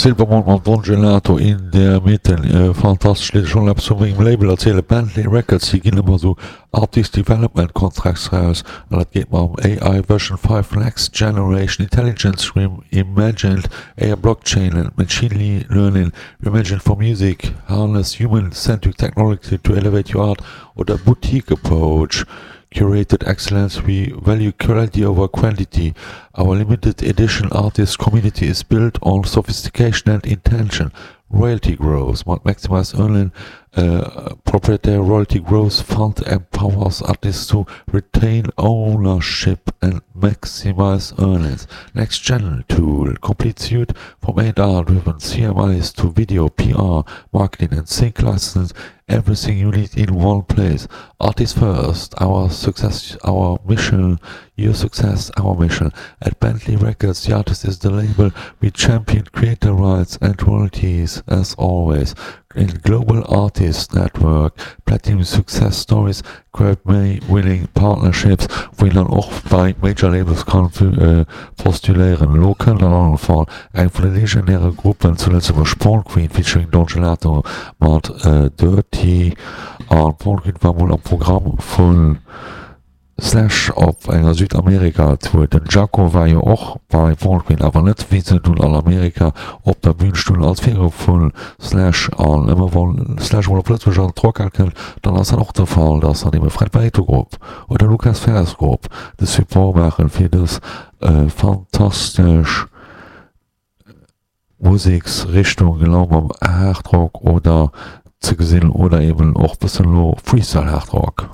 Silbermond mat Don Gelato in der Mitte. Fantastesch Lidd. Ech wollt eppes vu mengem Label erzielen, Bentley Records. Si ginn ëmmer esou Artist Development Contracts raus an dat geet mam AI Version 5 Next Generation Intelligence Reimagined AI Blockchain and Machine Learning Reimagined for Music Harness Human-Centric Technology to Elevate Your Art oder Boutique Approach Curated excellence, we value quality over quantity. Our limited edition artist community is built on sophistication and intention. Royalty growth mat Maximize Earning Proprietary Royalty Growth Fund empowers artists to retain ownership and maximize earnings. Next Gen Tool, complete suite from A&R-driven CMIs to video, PR, marketing and sync license Everything you need in one place. Artist first, our success, our mission, your success, our mission. At Bentley Records, the artist is the label. We champion creator rights and royalties as always. In Global Artist Network, Platinum Success Stories, Grammy-winning Partnerships, wou een dann och bei Major Labels kann postuléieren. Elo kënnt an allem Fall eng vun de legendäre Gruppen zu Lëtzebuerg, Porn Queen featuring Don Gelato mat Dirty. An Porn Queen war mol am Programm vun Slash op enger Südamerika Tour. Den Jaco war jo och bei Porn Queen, awer net wéi se dunn an Amerika op der Bühn stoungen als Virgrupp vun Slash. An ëmmer wann Slash mol op Lëtzebuerg an d'Rockhal kënnt, dann ass dat och de Fall, dass dann ebe Fred Barreto Grupp oder Lucas Ferres Grupp de Support maachen fir dës fantastesch Museksrichtung, genau mam Hardrock oder ze gesinn oder eben och bëssen elo Freestyle Hardrock.